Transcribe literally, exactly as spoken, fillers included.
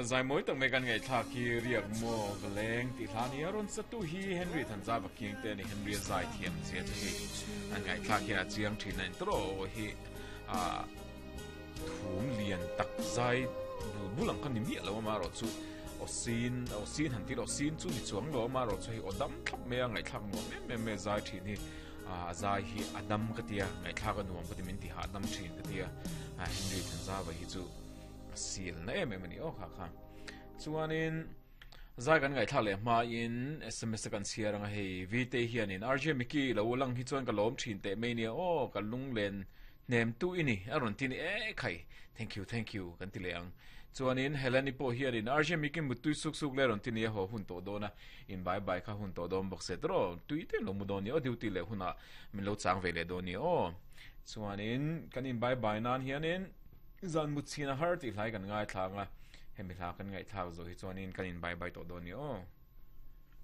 Zai mawi tak mai kan ngaihthlak hi riak maw ka leng tih hla nia rawn satu hi Henry Thanzava kiang te a ni Henry a zai thiam zia chu hei an ngaihthlak hian a chiang thin a intawh hi ah thum lian tak zai bul bul ang kha ni miah lo a marawh chu aw sin aw sin han tih loh sin chu ni chuang lo a marawh chu hei aw dam thlap mai a ngaihthlak nuam em em mai a zai thin hi ah a zai hi a dam ka tia ngaihthlak a nuam ka ti min ti hah dam thin ka tia ah Henry Thanzava hi chu a sil na em em a ni aw kha kha chuanin zai kan ngaihthlak leh hmain S M S kan chhiar anga hei V T hianin R J Mickey lo lang hi chuan ka lawm thin teh mai nia aw ka lunglen hnem tu i ni a rawn ti ni e khai, thank you, thank you kan ti leh ang. Chuanin Heleni pawh hianin R J Mickey mutui suk suk le rawn ti ni a haw hun tawh dawn a in bai bai kha hun tawh dawn bawk se tawh tui te lo mu dawn ni aw duty leh hunah min lo chang ve leh dawn ni aw. Chuanin kan in bai bai nan hianin zan mut chhin a har tih hlai kan ngai thlak a hemi hla kan ngaihthlak zo hi chuanin kan in bai bai tawh dawn ni aw.